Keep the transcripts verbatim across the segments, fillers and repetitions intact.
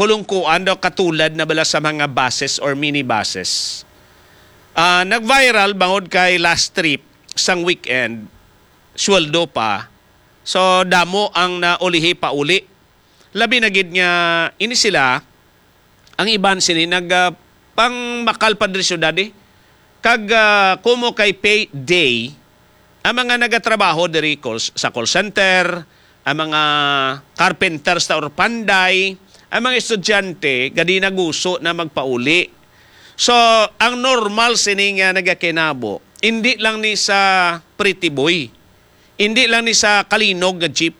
pulungkuan daw, katulad na bala sa mga buses or minibuses. Ah, nag-viral bangod kay last trip sang weekend, sweldo pa. So, damo ang naulihi pauli. Labi na gid nga ini sila, ang iban sini nag, ah, pangmakal pa diri syudad, eh. Kag, ah, kumo kay pay day, ang mga nagatrabaho diri call, sa call center, ang mga carpenters ta or panday, ang mga estudyante, gadi naguso na magpauli. So, ang normal sini nga nagakinabo, hindi lang ni sa Pretty Boy, hindi lang ni sa Kalinog nga jeep.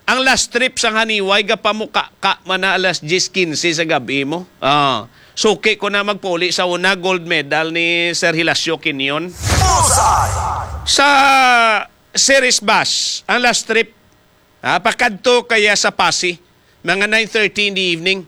Ang last trip sang Haniway, gapamuka ka man na alas diyes quince sa gabi mo. Ah, suki ko na magpauli sa una, gold medal ni Sir Hilasio Quinion. Bullseye! Sa Ceres bus, ang last trip, ah, pakadto kaya sa Passi, mga nine thirty in the evening.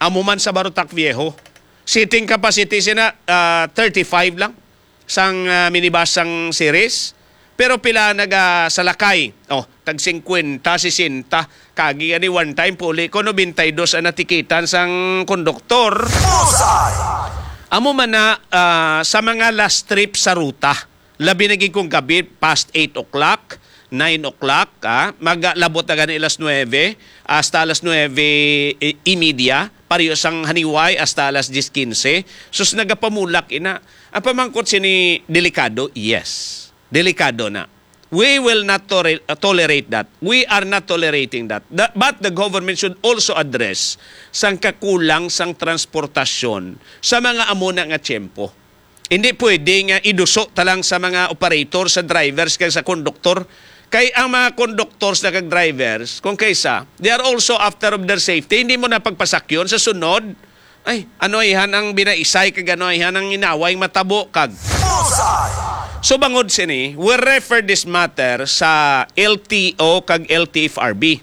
Amo man sa Barotac Viejo. Seating capacity sina, ah, thirty-five lang sang, ah, minibus sang Ceres. Pero pila nagasalakay? Oh, tag singkwenta, sesenta. Kagi gani one time, puli ko, nobenta y dos ang natikitan sang konduktor. Bullseye! Amo man na, ah, sa mga last trip sa ruta, labi na gid kung gabi, past eight o'clock, nine o'clock, ah, maglabot na gani alas nuebe hasta alas nuebe y media, pareho sang Haniway hasta alas diyes quince. Sus, nagapamulak ina. Ang pamangkot sini, delikado? Yes. Delikado na. We will not tore-, tolerate that. We are not tolerating that. The, but the government should also address sang kakulang sang transportasyon sa mga amo na nga tiyempo. Hindi pwede nga iduso ta lang sa mga operator, sa drivers, kag sa konduktor. Kay ang mga conductors na kag drivers, kung kaysa, they are also after of their safety. Hindi mo na pagpasakyon sa sunod. Ay, ano ayhan ang binaisay, kag ano ayhan ang inaway matabo, kag Bullseye! So, bangod sini, we refer this matter sa L T O kag L T F R B.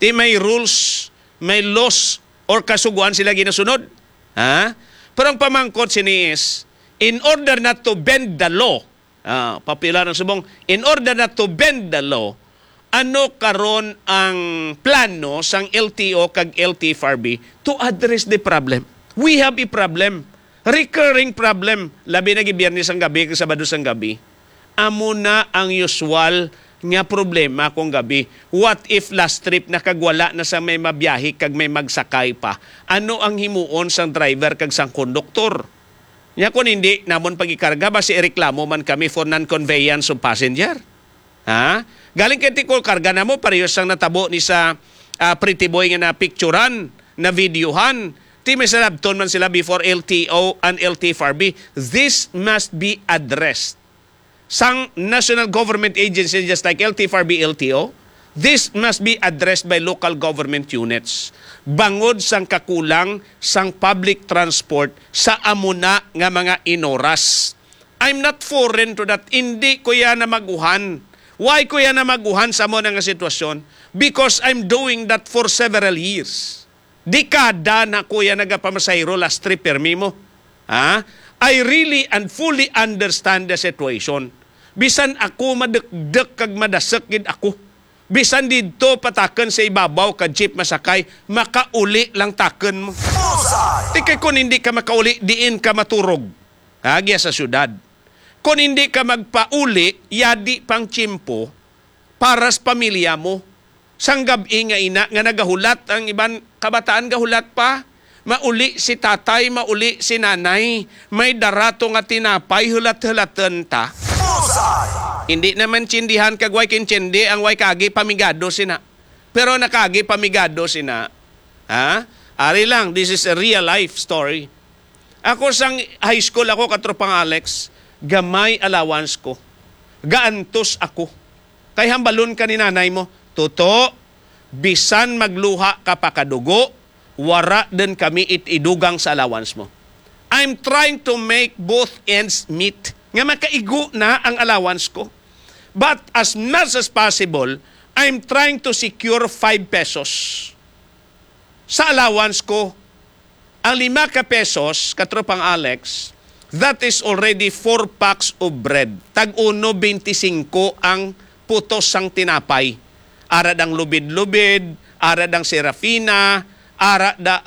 Di may rules, may laws, or kasugoan sila ginasunod. Ha? Pero ang pamangkot sini is, in order not to bend the law, ah, popular ang subong, in order not to bend the law, ano karon ang plano sang L T O kag L T F R B to address the problem? We have a problem, recurring problem, labi na gid Biyernes ang gabi kag Sabado sang gabi. Amo na ang usual nga problema kung gabi. What if last trip nakagwala na sa may mabiyahe kag may magsakay pa? Ano ang himuon sang driver kag sang konduktor? Nya, kung hindi namon pagikarga, basi ireklamo man kami for non-conveyance of passenger. Ha? Galing kay tikol karga namo, pareho sang natabo ni sa, ah, Pretty Boy nga napicturan, na videohan. Ti may salabton man sila before L T O and L T F R B. This must be addressed sang national government agencies just like L T F R B, L T O, this must be addressed by local government units. Bangod sang kakulang sang public transport sa amo na nga mga inoras. I'm not foreign to that. Hindi ko yan na maguhan. Why ko yan na maguhan sa amo na nga sitwasyon? Because I'm doing that for several years. Dekada na ko yan nagapamasahero, last trip permi mo. Ha? I really and fully understand the situation. Bisan ako madekdek kag madasek gid ako. Bisan didto pa takon sa ibabaw ka jeep masakay, makauli lang takon mo. Bullseye! Ti kay kun hindi ka makauli, diin ka maturog? Ha, giya sa syudad. Kun hindi ka magpauli, yadi pang tiyempo para sa pamilya mo. Sang gab-i nga ina nga nagahulat, ang iban kabataan gahulat pa. Mauli si tatay, mauli si nanay. May darato nga tinapay, hulat-hulaton ta. Bullseye! Hindi naman tsindihan kag way kintsindi ang way kagi pamigado sina. Pero nakagi pamigado sina. Ha? Ari lang, this is a real life story. Ako sang high school ako, katropang Alex, gamay allowance ko. Gaantos ako. Kay hambalon ka ni nanay mo, "Tuto, bisan magluha ka pa ka dugo, wara din kami it-, idugang sa allowance mo." I'm trying to make both ends meet. Nga makaigo na ang allowance ko. But as much as possible, I'm trying to secure five pesos sa allowance ko. Ang lima ka pesos, katropang Alex, that is already four packs of bread. Tag uno beinti singko ang putos sang tinapay. Ara dang lubid-lubid, ara dang Serafina, ara da